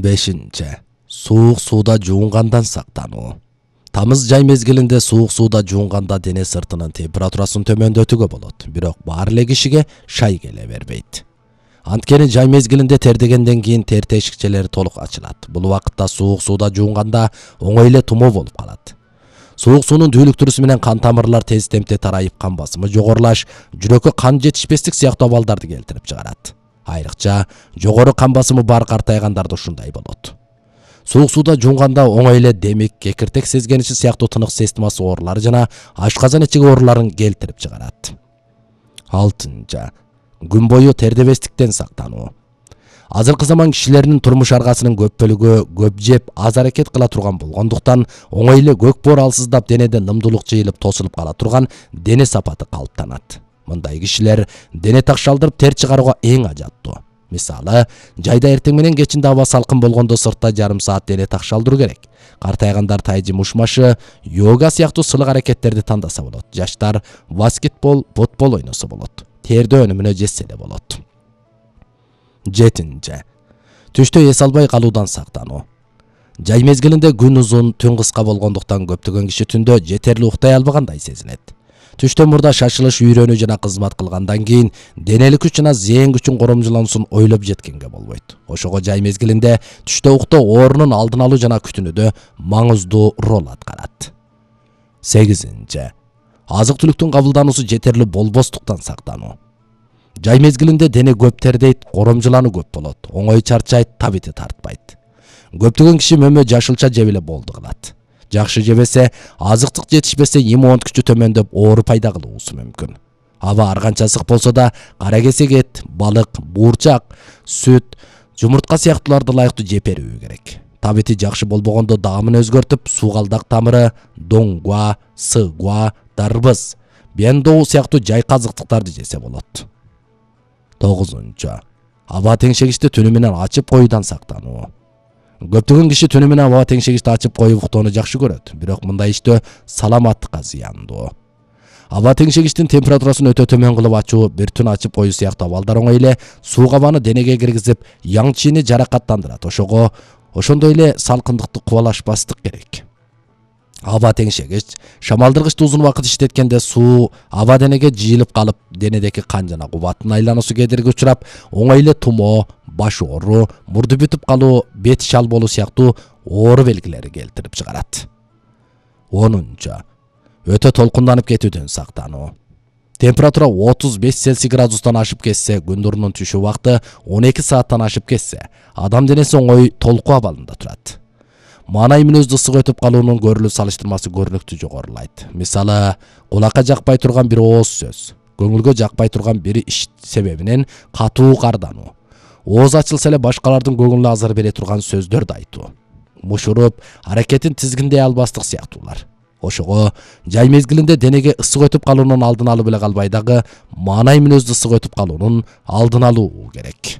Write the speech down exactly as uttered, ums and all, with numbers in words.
бешинчи. Суук сууда жуунгандан сактануу. Тамыз жай мезгилинде суук сууда жуунганда дене сыртынын температурасын төмөндөтүүгө болот, бирок баары эле кишиге шай келе бербейт. Анткени жай мезгилинде тердегенден кийин тер тешикчелери толук ачылат. Бул убакытта суук сууда жуунганда оңой эле тумоо болуп калат. Суук суунун дүүлүктүрүүсү менен кан тамырлар тез темпте тарайып, кан басымы жогорулаш, жүрөккө кан жетишпестик сыяктуу абалдарды келтирип чыгарат. Айрыкча жогору кан басымы бар картайгандарда ушундай болот. Суук сууда жуунганда оңой эле демик, кекиртек сезгениши сыяктуу тынык системасы оорулары жана ашказан ичиги ооруларын келтирип чыгарат. алтынчы. Күн бою тердебестиктен сактануу. Азыркы заман кишилеринин турмуш аргасынын көп бөлүгү көп жеп, аз аракет кыла турган болгондуктан оңой эле көк боор алсыздап денеде нымдуулук жыйылып тосулуп кала турган дене сапаты калыптанат. Мындай кишилер дене такшалдырып тер чыгарууга эң ажаттуу. Мисалы, жайда эртең менен кечинде аба салкын болгондо сыртта жарым саат дене такшалдыруу керек. Картайгандар тайжы мушмашы, йога сыяктуу сылык аракеттерди тандаса болот. Жаштар баскетбол, футбол ойносо болот. Терде өнүмүнө жетсе эле болот. жетинчи. Түштө эс албай калуудан сактануу. Жай мезгилинде күн узун, түн кыска болгондуктан көптөгөн киши түндө жетерли уктай албагандай сезинет. Түштөн мурда шашылыш, үйрөнүү жана кызмат кылгандан кийин денелик күч жана зээн күчүн коромжулоонусун ойлоп жеткенге болбойт. Ошого жай мезгилинде түштө уктоо оорунун алдын алуу жана күтүнүүдө маңыздуу роль аткарат. сегизинчи. Азык-түлүктүн кабылдануусу жетерли болбостуктан сактануу. Жай мезгилинде дене көп тердейт, коромжулануу көп болот, оңой чарчайт, табити тартпайт. Көптөгөн киши мөмө жашылча жеп эле болду кылат. Жакшы жебесе, азыктык жетишпесе, иммун күчү төмөндөп, оору пайда кылуусу мүмкүн. Аба ар канча ысык болсо да, кара кесек эт, балык, буурчак, сүт, жумуртка сыяктууларды ылайыктуу жеп берүү керек. Табити жакшы болбогондо даамын өзгөртүп, суугалдак тамыры, доңгуа, сыгуа, дарбыз, бендоу сыяктуу жайкы азыктыктарды жесе болот. тогузунчу. Аба теңшегичти түнү менен ачып коюудан сактануу. Көптөгөн киши түнү менен аба теңшегичти ачып коюп уктоону жакшы көрөт, бирок мындай иштөө саламаттыкка зыяндуу. Аба теңшегичтин температурасын өтө төмөн кылып ачуу, бир түн ачып коюу сыяктуу абалдар оңой эле суук абаны денеге киргизип, яң чийини жаракаттандырат. Ошого ошондой эле салкындыкты кубалашпастык керек. Аба теңшегич шамалдыргычты узун убакыт иштеткенде суу аба денеге жыйылып калып, денедеги кан жана кубаттын айлануусу кедерги учурап, оңой эле тумоо, баш оору, мурду бүтүп калуу, бет шал болуу сыяктуу оору белгилери келтирип чыгарат. онунчу. Өтө толкунданып кетүүдөн сактануу. Температура отуз беш Цельсий градустан ашып кетсе, күн нурунун түшүү убакыты он эки сааттан ашып кетсе, адам денеси оңой толкуу абалында турат. Маанай мүнөздүү ысык өтүп калуунун көрүлүү салыштырмасы көрүнүктүү жогорулайт. Мисалы, кулакка жакпай турган бир ооз сөз, көңүлгө жакпай турган бир иш себебинен катуу кардануу, ооз ачылса эле башкалардын көңүлүнө азар бере турган сөздөрдү айтуу, мушуруп, аракетин тизгиндей албастык сыяктуулар. Ошого жай мезгилинде денеге ысык өтүп калуунун алдын алып эле калбай дагы, маанай мүнөздүү ысык өтүп калуунун алдын алуу керек.